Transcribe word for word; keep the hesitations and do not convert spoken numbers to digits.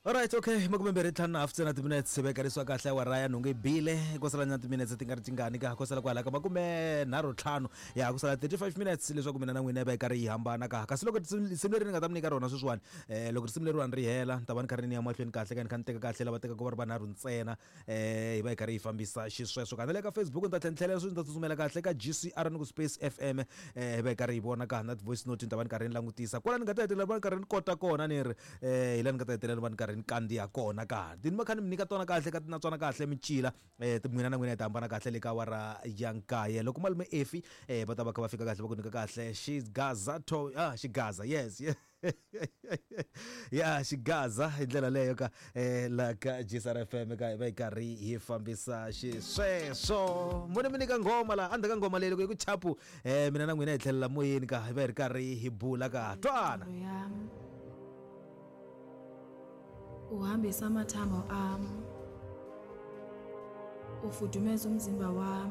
Alright, okay, makume mbirhi ntlhanu na hafu ntsena timinetse vekarisiwa kahle awara ya nhungu yi bile ko sala nyana timinetse ti nga ri tingani ka ko sala kwala ka makume nharhu ntlhanu ya ku sala thirty-five minutes leswaku mina na n'wina hi va hi karhi hi hambana ka. Kasi loko risimu leri ni nga ta mi nyika rona sweswiwani, um loko risimu leriwani ri hela ni ta va ni karhi ni ya mahlweni kahle ka ni kha ni teka kahle lava tekaka va ri vanharhu ntsena, um hi va hi karhi hi fambisa xisweswo. Ka na le ka Facebook ni ta tlhela ni tlhelela sweswi ni ta tsutsumela kahle ka G C R ni ku Space F M, um hi va hi karhi hi vona ka na ti-voice note ni ta va ni karhi ni langutisa kwala ni nga ta hetelela va ni karhi ni kota kona ni ri um hi laha ni nga ta hetelela va ni karhi ni kandziya kona ka ti ni va kha ni mi nyika tona kahle ka ti na tswana kahle micila um n'wina na n'wina hi ta hambana kahle le ka awara ya nkaye. Loko malume Efi um va ta va kha va fika kahle va ku nyika kahle xigaza to ah xigaza yes yes ya xigaza hi ndlela leyo ka um la ka G C R F M ka hi va hi karhi hi fambisa xisweswo. Mune mi nyika nghoma laha endzhaku ka nghoma leyi loko yi ku chapu um mina na n'wina hi tlhelela moyeni ka hi va hi ri karhi hi bula ka twana. Uhambisa amathambo am, ufudumeza umzimba wam.